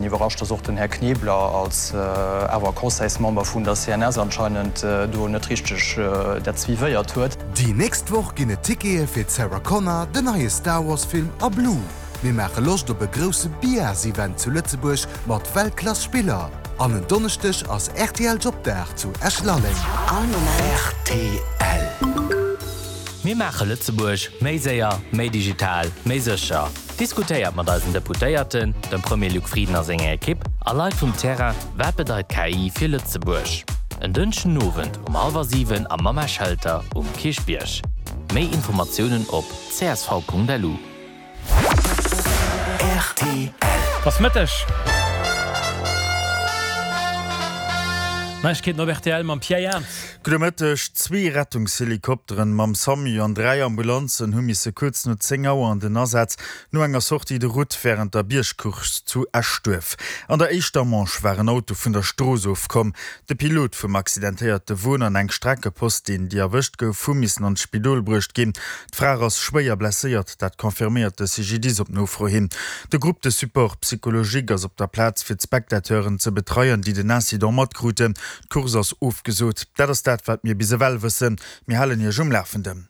Iwwerrascht, dass och den Här Knebler als awer Conseilsmember vun der CNS anscheinend do net richteg dat suivéiert huet. Déi nächst Woch ginn et Tickete fir d'Sarah Connor, den neie Star Wars Film a Blue. Mir maache Loscht op e grousse Biars-Event zu Lëtzebuerg mat Weltklass Spiller. An en Donneschdeg ass rtl Jobdag zu Esch-Lalleng. All Moment rtl. Mir maache Lëtzebuerg méi séier, méi digital, méi sécher. Diskutéiert mat eisen Deputéierten, dem Premier Luc Frieden a senger Ekipp a Leit vum Terrain, Wat bedeit KI fir Lëtzebuerg? En Dënschden Owend um hallwer 7 am Mamma Shelter um Kierchbierg. Méi Informatiounen op csv.lu. Rtl. Ass Mëtteg. Neiegkeeten op rtl mam Pierre Jans. Gudde Mëtteg. Zwee Rettungshelikopteren mam Samu an 3 Ambulanzen hu misse kuerz no 10 Auer an den Asaz no enger Sortie de route wärend der Biergcourse zu Eschduerf. An der éischter Manche war en Auto vun der Strooss ofkomm. De Pilot vum accidentéierte Won an eng Streckepostin, déi erwëscht gouf, hu missen an d'Spidol bruecht ginn. D'Fra ass schwéier blesséiert, dat confirméiert de CGDIS op Nofro hin. De Groupe de support psychologique ass op der Plaz fir d'Spectateuren ze betreien, déi den Incident matkruten. D'Course ass ofgesot. Dat ass dat, wat mir bis ewell wëssen. Mir halen Iech um Lafenden.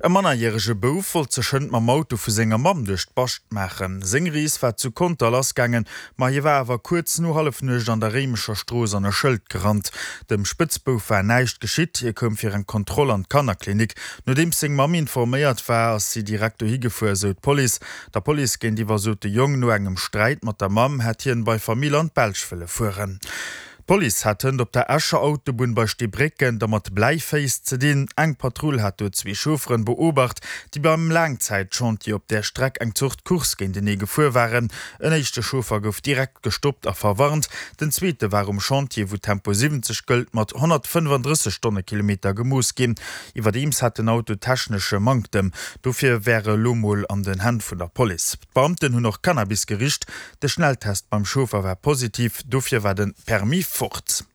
E mannerjärege Bouf wollt sech hënt mam Auto vu senger Mamm duerch d'Bascht maachen. Seng Rees war zu Conter lassgaangen, ma hie war awer kuerz no Hallefnuecht an der Réimecher Strooss an e Schëld gerannt. Dem Spëtzbouf war näischt geschitt, hie koum fir eng Kontroll an d'Kannerklinik. Nodeems seng Mamm informéiert war, ass si direkt dohi gefuer, esou d'Police. Der Police géintiwwer sot de Jong, no engem Sträit mat der Mamm hätt hien bei Famill an d'Belsch wëlle fueren. D'Police hat hënt op der Escher Autobunn bei Steebrécken da mat Bläiféiss ze dinn. Eng Patrull hat do zwee Chaufferen beobacht, déi beim Laangzäitchantier op där Streck eng Zort Course géintenee gefuer waren. En éischte Chauffer gouf direkt gestoppt a verwarnt. Den zweete war um Chantier, wou Tempo 70 gëllt, mat 135 Stonnekilometer gemooss ginn. Iwwerdeems hat den Auto technesche Manktem. Dofir wär e lo mol an den Hänn vun der Police. D'Beamten hunn och Cannabis gericht. De Schnelltest beim Chauffer war positiv, dofir war de Permis fort.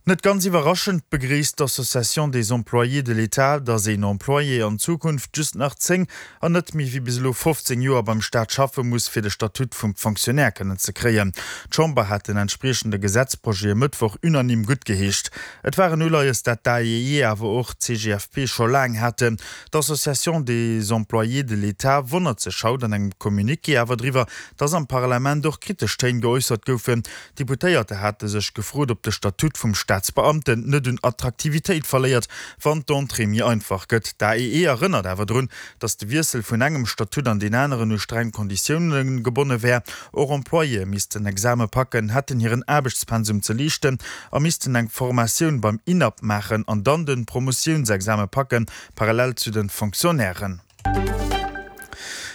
Net ganz iwwerraschend begréisst d'Association des employés de l'État, datt een Employé an Zukunft just nach 10 an net méi wéi bis elo 15 Joer beim Staat schaffe muss, fir de Statut vum Fonctionnaire kënnen ze kréien. D'Chamber hat den entspriechende Gesetzprojet e Mëttwoch unanime guttgeheescht. Et war en Uleies, dat d'AEE awer och d'CGFP scho laang haten. D'Association des employés de l'État wonnert sech haut an engem Communiqué awer driwwer, datt am Parlament och kritesch Téin geäussert goufen. D'Deputéierte hate sech gefrot, ob de Statut vum Staatsbeamten net un Attraktivitéit verléiert, wann d'Entrée méi einfach gëtt. D'AEE erënnert awer drun, datt de Wiessel vun engem Statut an deen aneren u streng Konditioune gebonne wär. Och Employéë missten Exame packen, hätten hiren Aarbechtspensum ze leeschten a missten eng Formatioun beim INAP maachen an dann de Promotiounsexame packen, parallel zu de Fonctionnairen.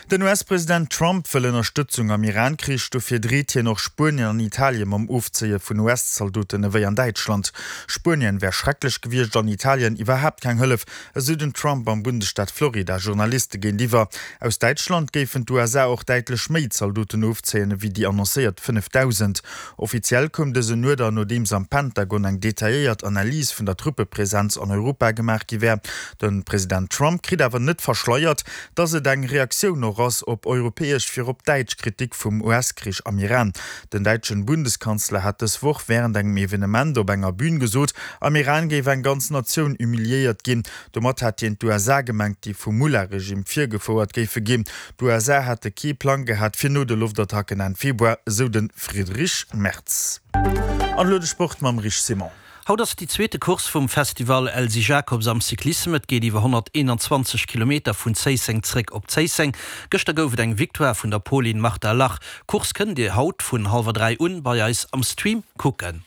Den US-President Trump wëll Ënnerstëtzung am Iran-Krich. Dofir dreet hien och Spuenien an Italien mam Ofzéie vun US-Zaldoten ewéi an Däitschland. Spuenien wär schrecklech gewiescht an Italien iwwerhaapt keng Hëllef, esou den Trump am Bundesstaat Florida Journaliste géintiwwer. Aus Däitschland géifen d'USA och däitlech méi Zaldoten ofzéien ewéi déi annoncéiert 5.000. Offiziell koum dësen Uerder, nodeems am Pentagon eng detailléiert Analys vun der Truppepresenz an Europa gemaach gi wär. De President Trump kritt awer net verschleiert, datt et eng Reaktioun och ass op europäesch, virop däitsch Kritik vum US-Krich am Iran. Den däitschen Bundeskanzler hat dës Woch wärend engem Evenement op enger Bün gesot, am Iran géif eng ganz Natioun humiliéiert ginn. Domat hat hien d'USA gemengt, déi vum Mullah-Regime virgefouert géife ginn. D'USA hätte kee Plang gehat fir no de Loftattacken Enn Februar, esou de Friedrich Merz. An elo de Sport mam Rich Simon. Haut ass déi zweete Course vum Festival Elsy Jacobs am Cyclissem. Et geet iwwer 121 Kilometer vun Zéisseng zréck op Zéisseng. Gëschter gouf et eng Victoire vun der Polin Marta Lach. D'Course kënnt Dir haut vun hallwer 3 un bei eis am Stream kucken.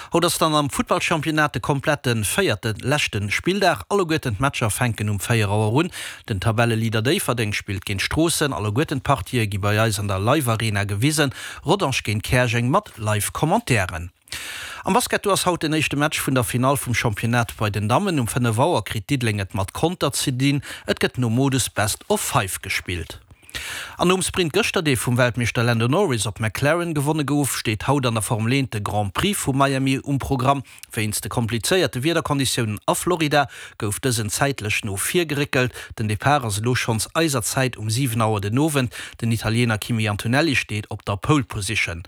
Haut ass dann am Futtballchampionnat de komplette véierte leschte Spilldag. Alleguerten d'Matcher fänken um 4 Auer un. Den Tabelleleader Déifferdeng spillt géint Stroossen. Alleguerten d'Partië gi bei eis an der Live Arena gewisen. Rodange géint Käerjeng mat Live Commentairen. Am Basket do ass haut den éischte Match vun der Finall vum Championnat bei den Dammen. Um 5 Auer kritt Diddeleng et mat Conter ze dinn. Et gëtt nom Modus Best of Five gespillt. An nom Sprint gëschter, dee vum Weltmeeschter Lando Norris op McLaren gewonne gouf, steet haut an der Formel 1 de Grand Prix vu Miami um Programm. Wéinst de komplizéierte Wiederkonditiounen a Florida gouf dësen zäitlech no vir geréckelt. Den Depart ass elo schonns eiser Zäit um 7 Auer den Owend. Den Italiener Kimi Antonelli steet op der Pole Position.